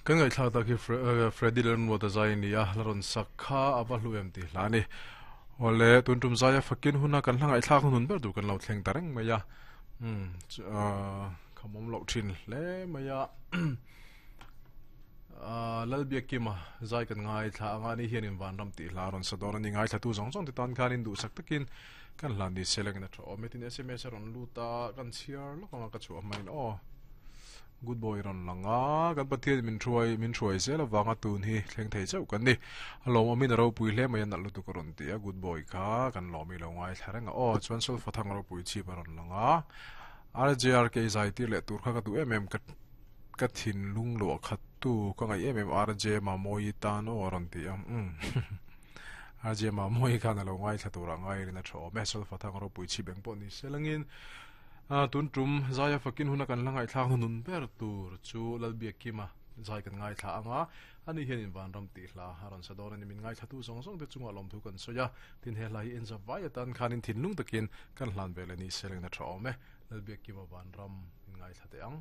Kan ngaihthlak tak hi Freddy Lalmuata zai a ni a, la rawn sak kha a va hlu em tih hla a ni. Awle, tun tum zaia fakin huna kan hla ngaihthlak hunun ber tur kan lo thleng ta reng mai a. Umm, khamawm loh thin hle mai a. Lalbiakima zai kan ngaithla anga ni hianin vanram tih hla a rawn sa dawn a ni. Ngaithlatu zawng zawng te tan khanin duhsak takin kan hlan ni se lengin a tha awm e. Tin, sms a rawn lut a, kan chhiar lawk anga ka chhuah hmain aw. Good boy rawn lang a, kan Pathian min hruai min hruai zel avanga tun hi thleng thei chauh kan ni. A lawmawmin a ropui hle mai a nalh lutuk a rawn ti a, good boy kha kan lawm i lo ngaithla reng a aw. Chuan Solfa thang ropui chhip a rawn lang a, RJRK zai tir leh tur kha ka duh em em ka ka thinlung luah khat tu ka ngaih em em RJ Mamawii tan aw a rawn ti a, umm RJ Mamawii khan a lo ngaithla tur ah ngairin a tha awm e, Solfa thang ropui chhip eng pawh ni se langin. Tun tum Zaia fakin huna kan la ngaihthlak hnunun ber tur chu Lalbiakkima zai kan ngaithla ang a, ani hianin Vanram tih hla a rawn sa dawn a ni. Min ngaithlatu zawng zawng te chungah lawmthu kan sawi a, tin he hla hi en za vai atan khanin thinlung takin kan hlan ve leh ni se lengna tha awm e. Lalbiakkima Vanram min ngaithla teh ang.